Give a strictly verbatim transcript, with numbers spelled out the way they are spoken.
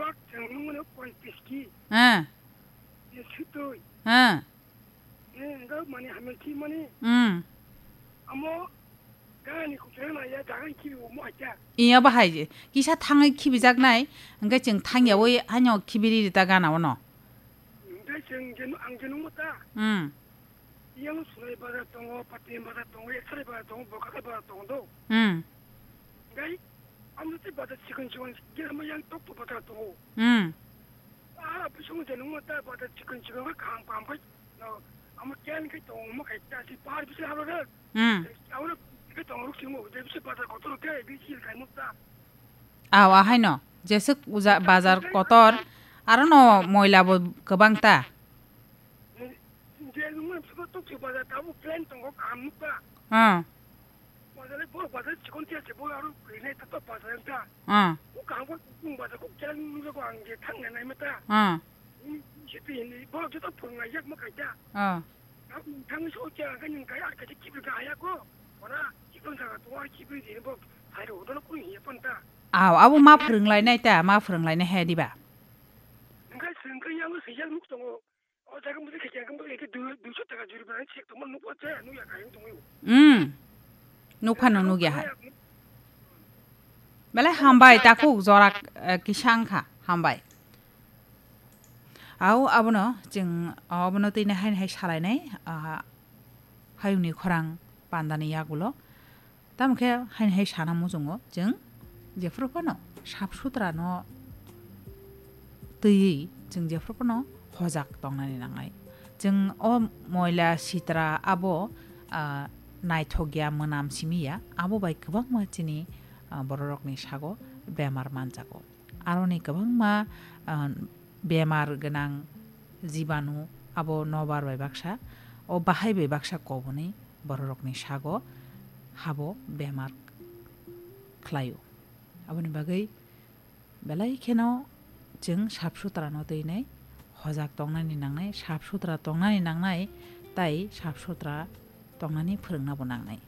Bak chwng nungmano pointis ki. Ah. Ye sutoi. Ah. Ye enga mani hamil ki mani. Hmm. Amo gani kuchana ya dagan ki mo acha. Iya bahai je. Kisa thangai khibijaknai. Hingke chwng thangyawi hanyo khibiri rita gana ono. Hingke chwng jenu ang jenu mo ta. Hmm. Yang sunai bazar tongo, patin bazar tongo, eksari bazar tongo, bokaka bazar tongo do. Hmm. Hingke ang te bazar chikon chikon, germa yang tok tok bazar tongo. Hmm. Ah, bising jenu mo ta bazar chikon chikon ka kam kam kai. No, amo ken kai tongo mo kai ta si par bising haro re. Hmm. Amo kai tongo ruk singo, de bising bazar kotor kai, bising kai mo ta. Aw, ahaino. Jeswk uja-, bazar kotor, arono moila bo kwbang ta. Je nungma sabo tok se bazar tabo plan tongo kaham nukha. Ah. Bazar le bo bazar chikon tiya se bo aro krinai tato bazar ta. Ah. Ko kaham ko tung bazar ko kela nungjago ang je thang nai mata. Ah. Ni siti ni bo joto phunga yak ma kaita. Ah. Ang thang so cha ga ning kai ar ka ji kibri ga ya ko. Ora chikon jaga to ar kibri di bo. Hai ro do ko ni pon ta. Aw, abo ma phwrwnglainai ta, ma phwrwnglainai he diba? Ngai sengkai yang se yang nuk tongo. O jaga mudi khe khe khe dui, duiso taka juri bana chek tongma nukwa che, nukya kha yang tongwi. Hmm. Nukha no nukya hai. Belai hambai takhuk jora, eh, kisang kha, hambai. Au abono chwng, abono twi nahai nahai salainai, ah, hayungni khorang pandani yagulo. Tamo khe haini hai sana muchungo chwng jephuru phano sap sutra no twiwi chwng jephuru phano hojak tongnani nangnai. Chwng o moila sitra abo, ah, naithok ya, mwnam simi ya, abo bai kwbangma chini, ah, bororokni sago bemar manjago. Aroni kwbangma, ah, bemar gwnang jibanu abo nobar bai baksa, o bahai bai baksa koboni bororokni sago habo bemar khlaio. Aboni bagwi belai kheno chwng sap sutrano twinai hojak tongnani nangnai, sap sutra tongnani nangnai, tai sap sutra tongnani phwrwngnabo nangnai.